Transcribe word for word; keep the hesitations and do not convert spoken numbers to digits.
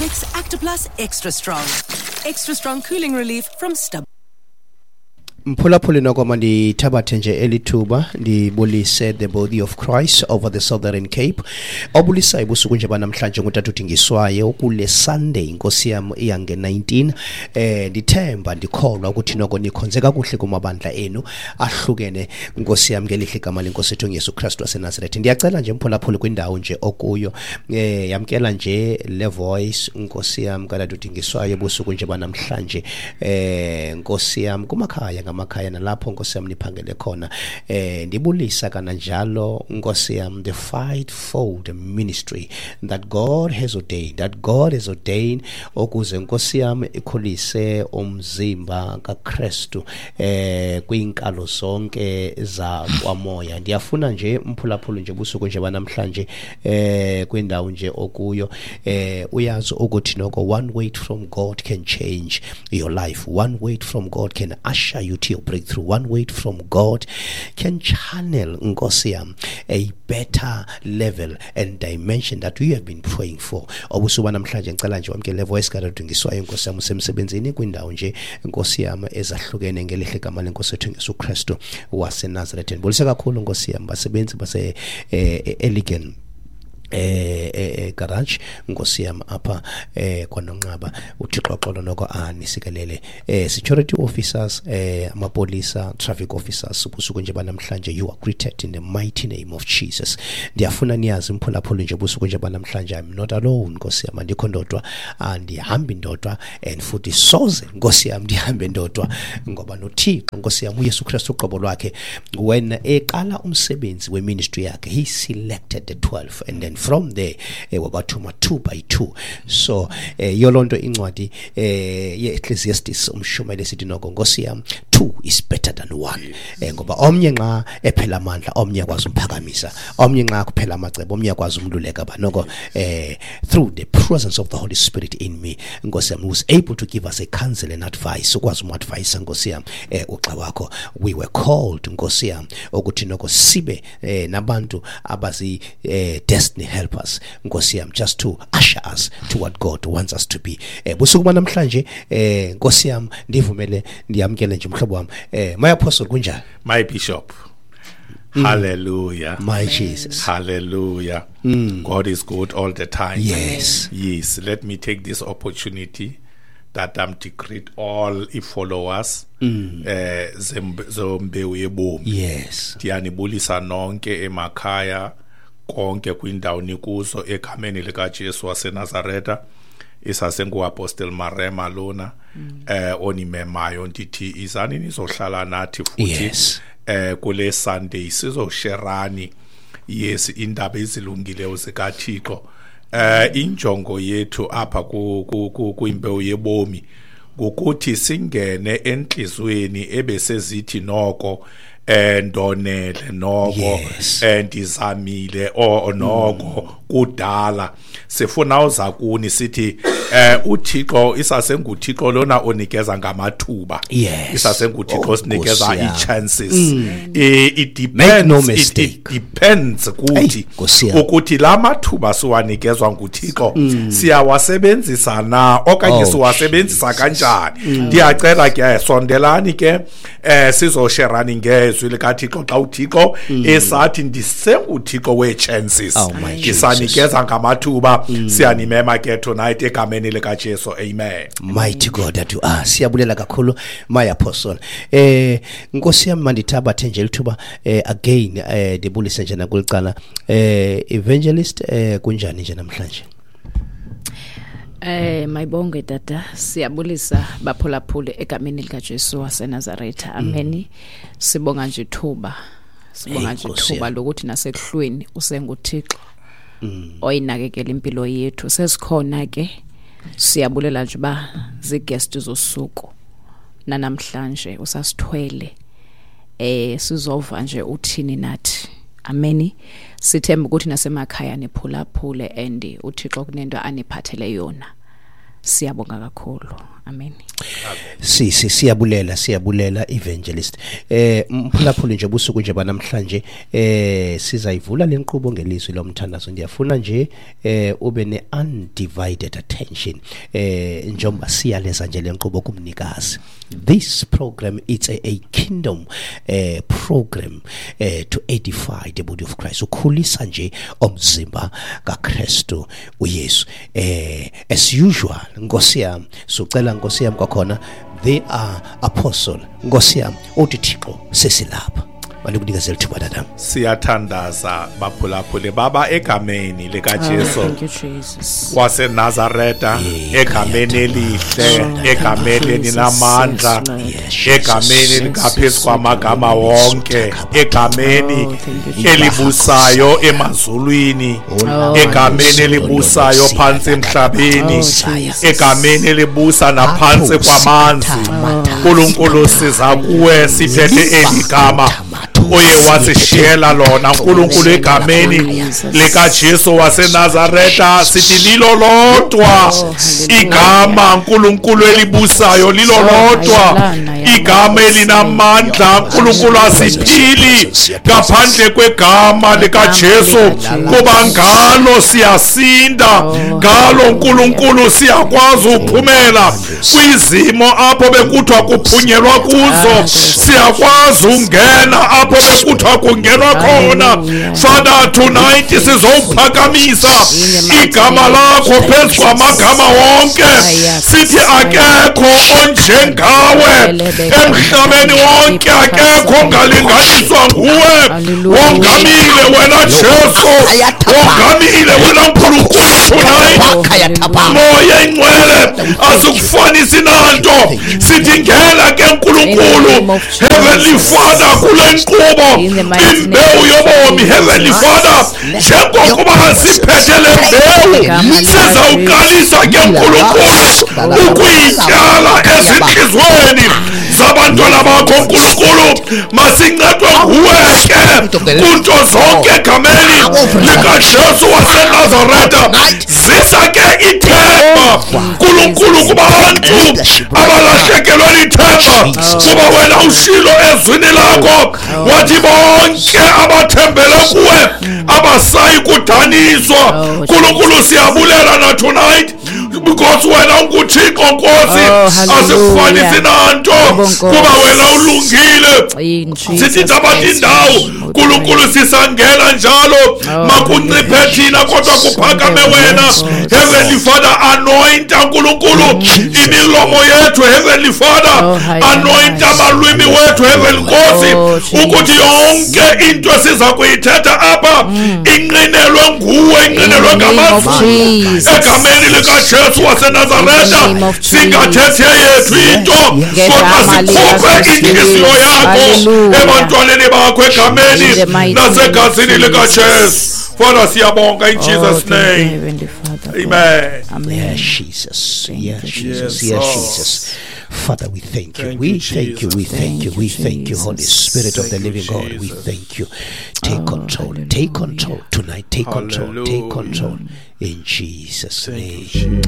Vicks Actiplus Extra Strong. Extra strong cooling relief from Stub. Mphulaphuli, noko mandithabathe nje elithuba ndibulise the body of Christ over the Southern Cape. Obulisayo ubusuku nje banamhlanje ngutata uDingiswayo kule Sunday, Nkosi yam, iyange nineteen. eh ndithemba ndikholwa ukuthi noko nikhonze kakuhle kumabandla enu ahlukene, Nkosi yam, ngelihle igama lenkosi ethu Yesu Kristu waseNazaretha. Ndiyacela nje, mphulaphuli, kwindawo nje okuyo, eh yamkela nje le voice, Nkosi yam, katata uDingiswayo ubusuku nje banamhlanje, eh Nkosi yam, kumakhaya ngamakhaya nalapho, Nkosi yam, niphangele khona. eh ndibulisa kananjalo, Nkosi yam, the fivefold ministry that God has ordained that God has ordained ukuze, Nkosi yam, ikhulise umzimba kaKristu eh kwinkalo zonke zakwamoya. Ndiyafuna nje, mphulaphula nje busuku nje banamhlanje, eh kwindawo nje okuyo, eh uyazi ukuthi noko one word from God can change your life, one word from God can usher you to your breakthrough, one word from God can channel, Nkosi yam, a better level and dimension that you have been praying for. Obusuku namhlanje ngicela nje wamkele voice kaDingiswayo, Nkosi yam, usemsebenzini, kwindawo nje, Nkosi yam, ezahlukene, ngelihle igama lenkosi ethu Yesu Kristu waseNazaretha. Ndibulise kakhulu, Nkosi yam, basebenzi base eh, Eligan eh eh garage, Nkosi yam, apha eh kwaNonqaba. UThixo xolo noko anisikelele. eh security officers, eh amapolisa, traffic officers, ubusuku nje banamhlanje, you are greeted in the mighty name of Jesus. Ndiyafuna niyazi, mphulaphula nje ubusuku nje banamhlanje, I'm not alone, Nkosi yam, andikho ndodwa, andihambi ndodwa, and futhi soze, Nkosi yam, ndihambe ndodwa, ngoba noThixo, Nkosi yam, uYesu Kristu uqobo lwakhe, when eqala umsebenzi weministry yakhe, he selected the twelve and then from there eh, wabathuma two by two. So eh, yolonto incwadi eh ye-Ecclesiastes, umshumayeli, sithi noko, Nkosi yam, two is better than one, eh, ngoba omnye nxa ephela amandla, omnye akwazi umphakamisa, omnye nxa kuphela amacebo, omnye akwazi umluleka ba noko eh through the presence of the Holy Spirit in me, Nkosi yam, who's able to give us a counsel and advice, ukwazi umadvise, Nkosi yam, eh uxa wakho. We were called, Nkosi yam, ukuthi noko sibe eh, nabantu abazi eh, destiny helpers, Nkosi yam, just to usher us to what God wants us to be. eh busuku banamhlanje, eh Nkosi yam, ndivumele ndiyamkele nje umhlobo wami, eh my apostle. Kunjani? My bishop. Hallelujah. My Jesus. Hallelujah. God is good all the time. Yes. Yes. Let me take this opportunity that I'm to greet all i followers eh zembe- zombewu yebomi. Yes Ndiyanibulisa nonke emakhaya, konke kwindawo nikuzo, egameni likaJesu waseNazaretha. Isasengu-Apostle Marema lona eh onimemayo, ndithi izani nizohlala nathi futhi Yes. eh kule Sunday, sizosherani, yes, indaba ezilungileyo zikaThixo. eh injongo yethu apha ku ku- ku- kwimbewu yebomi ngokuthi singene enhlizweni ebesezithi noko eh ndonele noko, Yes. eh ndizamile o noko kudala. Sifuna uza kuni sithi eh uThixo isasenguThixo lona onikeza ngamathuba. Yes. IsasenguThixo Oh, osinikeza Nkosi yam. i-chances. Eh, it Make no depends it, mistake. it depends kuthi Hey, Nkosi yam. ukuthi la mathuba siwanikezwa nguThixo siyawasebenzisa na okanye Oh, siwasebenzisa kanjani. Ndiyacela ke, sondelani ke, eh sizosherani ngezwi likaThixo xa uThixo esathi ndisenguThixo wee-chances, Oh, my ndisanikeza ngamathuba. Siyanimema ke tonight egameni likaJesu, amen. Mighty God that you are. Siyabulela kakhulu, my apostle. eh Nkosi yami, mandithabathe nje lithuba eh again eh ndibulise nje nakulicala, eh evangelist. eh kunjani nje namhlanje? Eh mayibonge tata, siyabulisa baphulaphule egameni lika Jesu waseNazaretha. Amen. Sibonga nje ithuba. Sibonga Hey, nje Nkosi ithuba yami. lokuthi nasekuhlweni usenguThixo oyinakekela impilo yethu. Sesikhona ke, siyabulela nje ba ziguest zosuku. Nanamhlanje usasithwele. Eh sizova nje uthini nathi. Amen. Sithemba ukuthi nasemakhaya niphulaphule and uThixo kunento aniphathele yona. Siyabonga kakhulu. Amen. Si si siyabulela siyabulela evangelist. Eh mphulaphuli nje busuku nje banamhlanje eh sizayivula lenkqubo ngelizwi lomthandazo. Ndiyafuna nje eh ube ne undivided attention eh njengoba siyaleza nje lenkqubo kumnikazi. This program, it's a, a kingdom eh program eh to edify the body of Christ. Ukhulisa nje umzimba kaKristu uYesu. Eh as usual Nkosi yami sucela Nkosi yami kwakhona they are apostle Nkosi yami uthi Thixo sesilapha. Balikunikeza ithuba tata. Siyathandaza baphulaphule baba egameni lika Jesu. Oh, thank you Jesus. WaseNazaretha, egameni elihle, egameni elinamandla, egameni likaphezulu kwamagama wonke, egameni elibusayo emazulwini, egameni elibusayo phansi emhlabeni, egameni elibusa naphansi kwamanzi. uNkulunkulu siza kuwe siphethe eligama oye wasishiyela lona uNkulunkulu egameni lika Jesu waseNazaretha. Sithi lilo lodwa igama uNkulunkulu elibusayo, lilo lodwa igama elinamandla. uNkulunkulu asiphili ngaphandle kwegama lika Jesu, kuba ngalo siyasinda, ngalo uNkulunkulu siyakwazi ukuphumela kwizimo apho bekuthiwa kuphunyelwa kuzo, siyakwazi ungena apho bekuthiwa kungenwa khona. Father, tonight sizowuphakamisa igama lakho phezu kwamagama wonke, sithi akekho onjengawe emhlabeni wonke, akekho ongalinganiswa nguwe. Wongamile wena Jesu, wongamile wena Nkulunkulu. Tonight Moya Ingcwele asikufanisi nanto, sithi ngena ke Nkulunkulu, Heavenly Father, kule nkqubo imbewu yobomi. Heavenly Father, njengokuba siphethe le mbewu sizawuqalisa ke Nkulunkulu ukuyityala ezintliziyweni zabantwana bakho Nkulunkulu. Masincedwe nguwe ke kunto zonke egameni likaJesu waseNazaretha. Zisa ke ithemba Nkulunkulu kubantu abalahlekelwe lithemba, kuba wena ushilo ezwini lakho wathi bonke abathembele kuwe abasayi kudaniswa. Nkulunkulu siyabulela na tonight because wena unguThixo Nkosi, asikufanisi nanto kuba wena ulungile. Sithi tabathi indawo Nkulunkulu sisangena njalo, makunciphe thina kodwa kuphakame wena. Heavenly Father, anoint Nkulunkulu imilomo yethu. Heavenly Father, anoint amalwimi wethu Heavenly Nkosi, ukuthi yonke into esiza kuyithetha apha inqinelwe nguwe, inqinelwe ngamazwi egameni likaJesu waseNazaretha. Singathethe yethu into kodwa sikhuphe inhliziyo yakho ebantwaneni bakho egameni nasegazini likaJesu. Father, siyabonga in Jesus' name. Amen. Amen. Yes, Jesus. Yes, Jesus. Yes, Jesus. Father, we thank you. We thank you. We thank you. We thank you, Holy Spirit of the living God. We thank you. Take control. Take control tonight. Take control. Take control. In Jesus' name.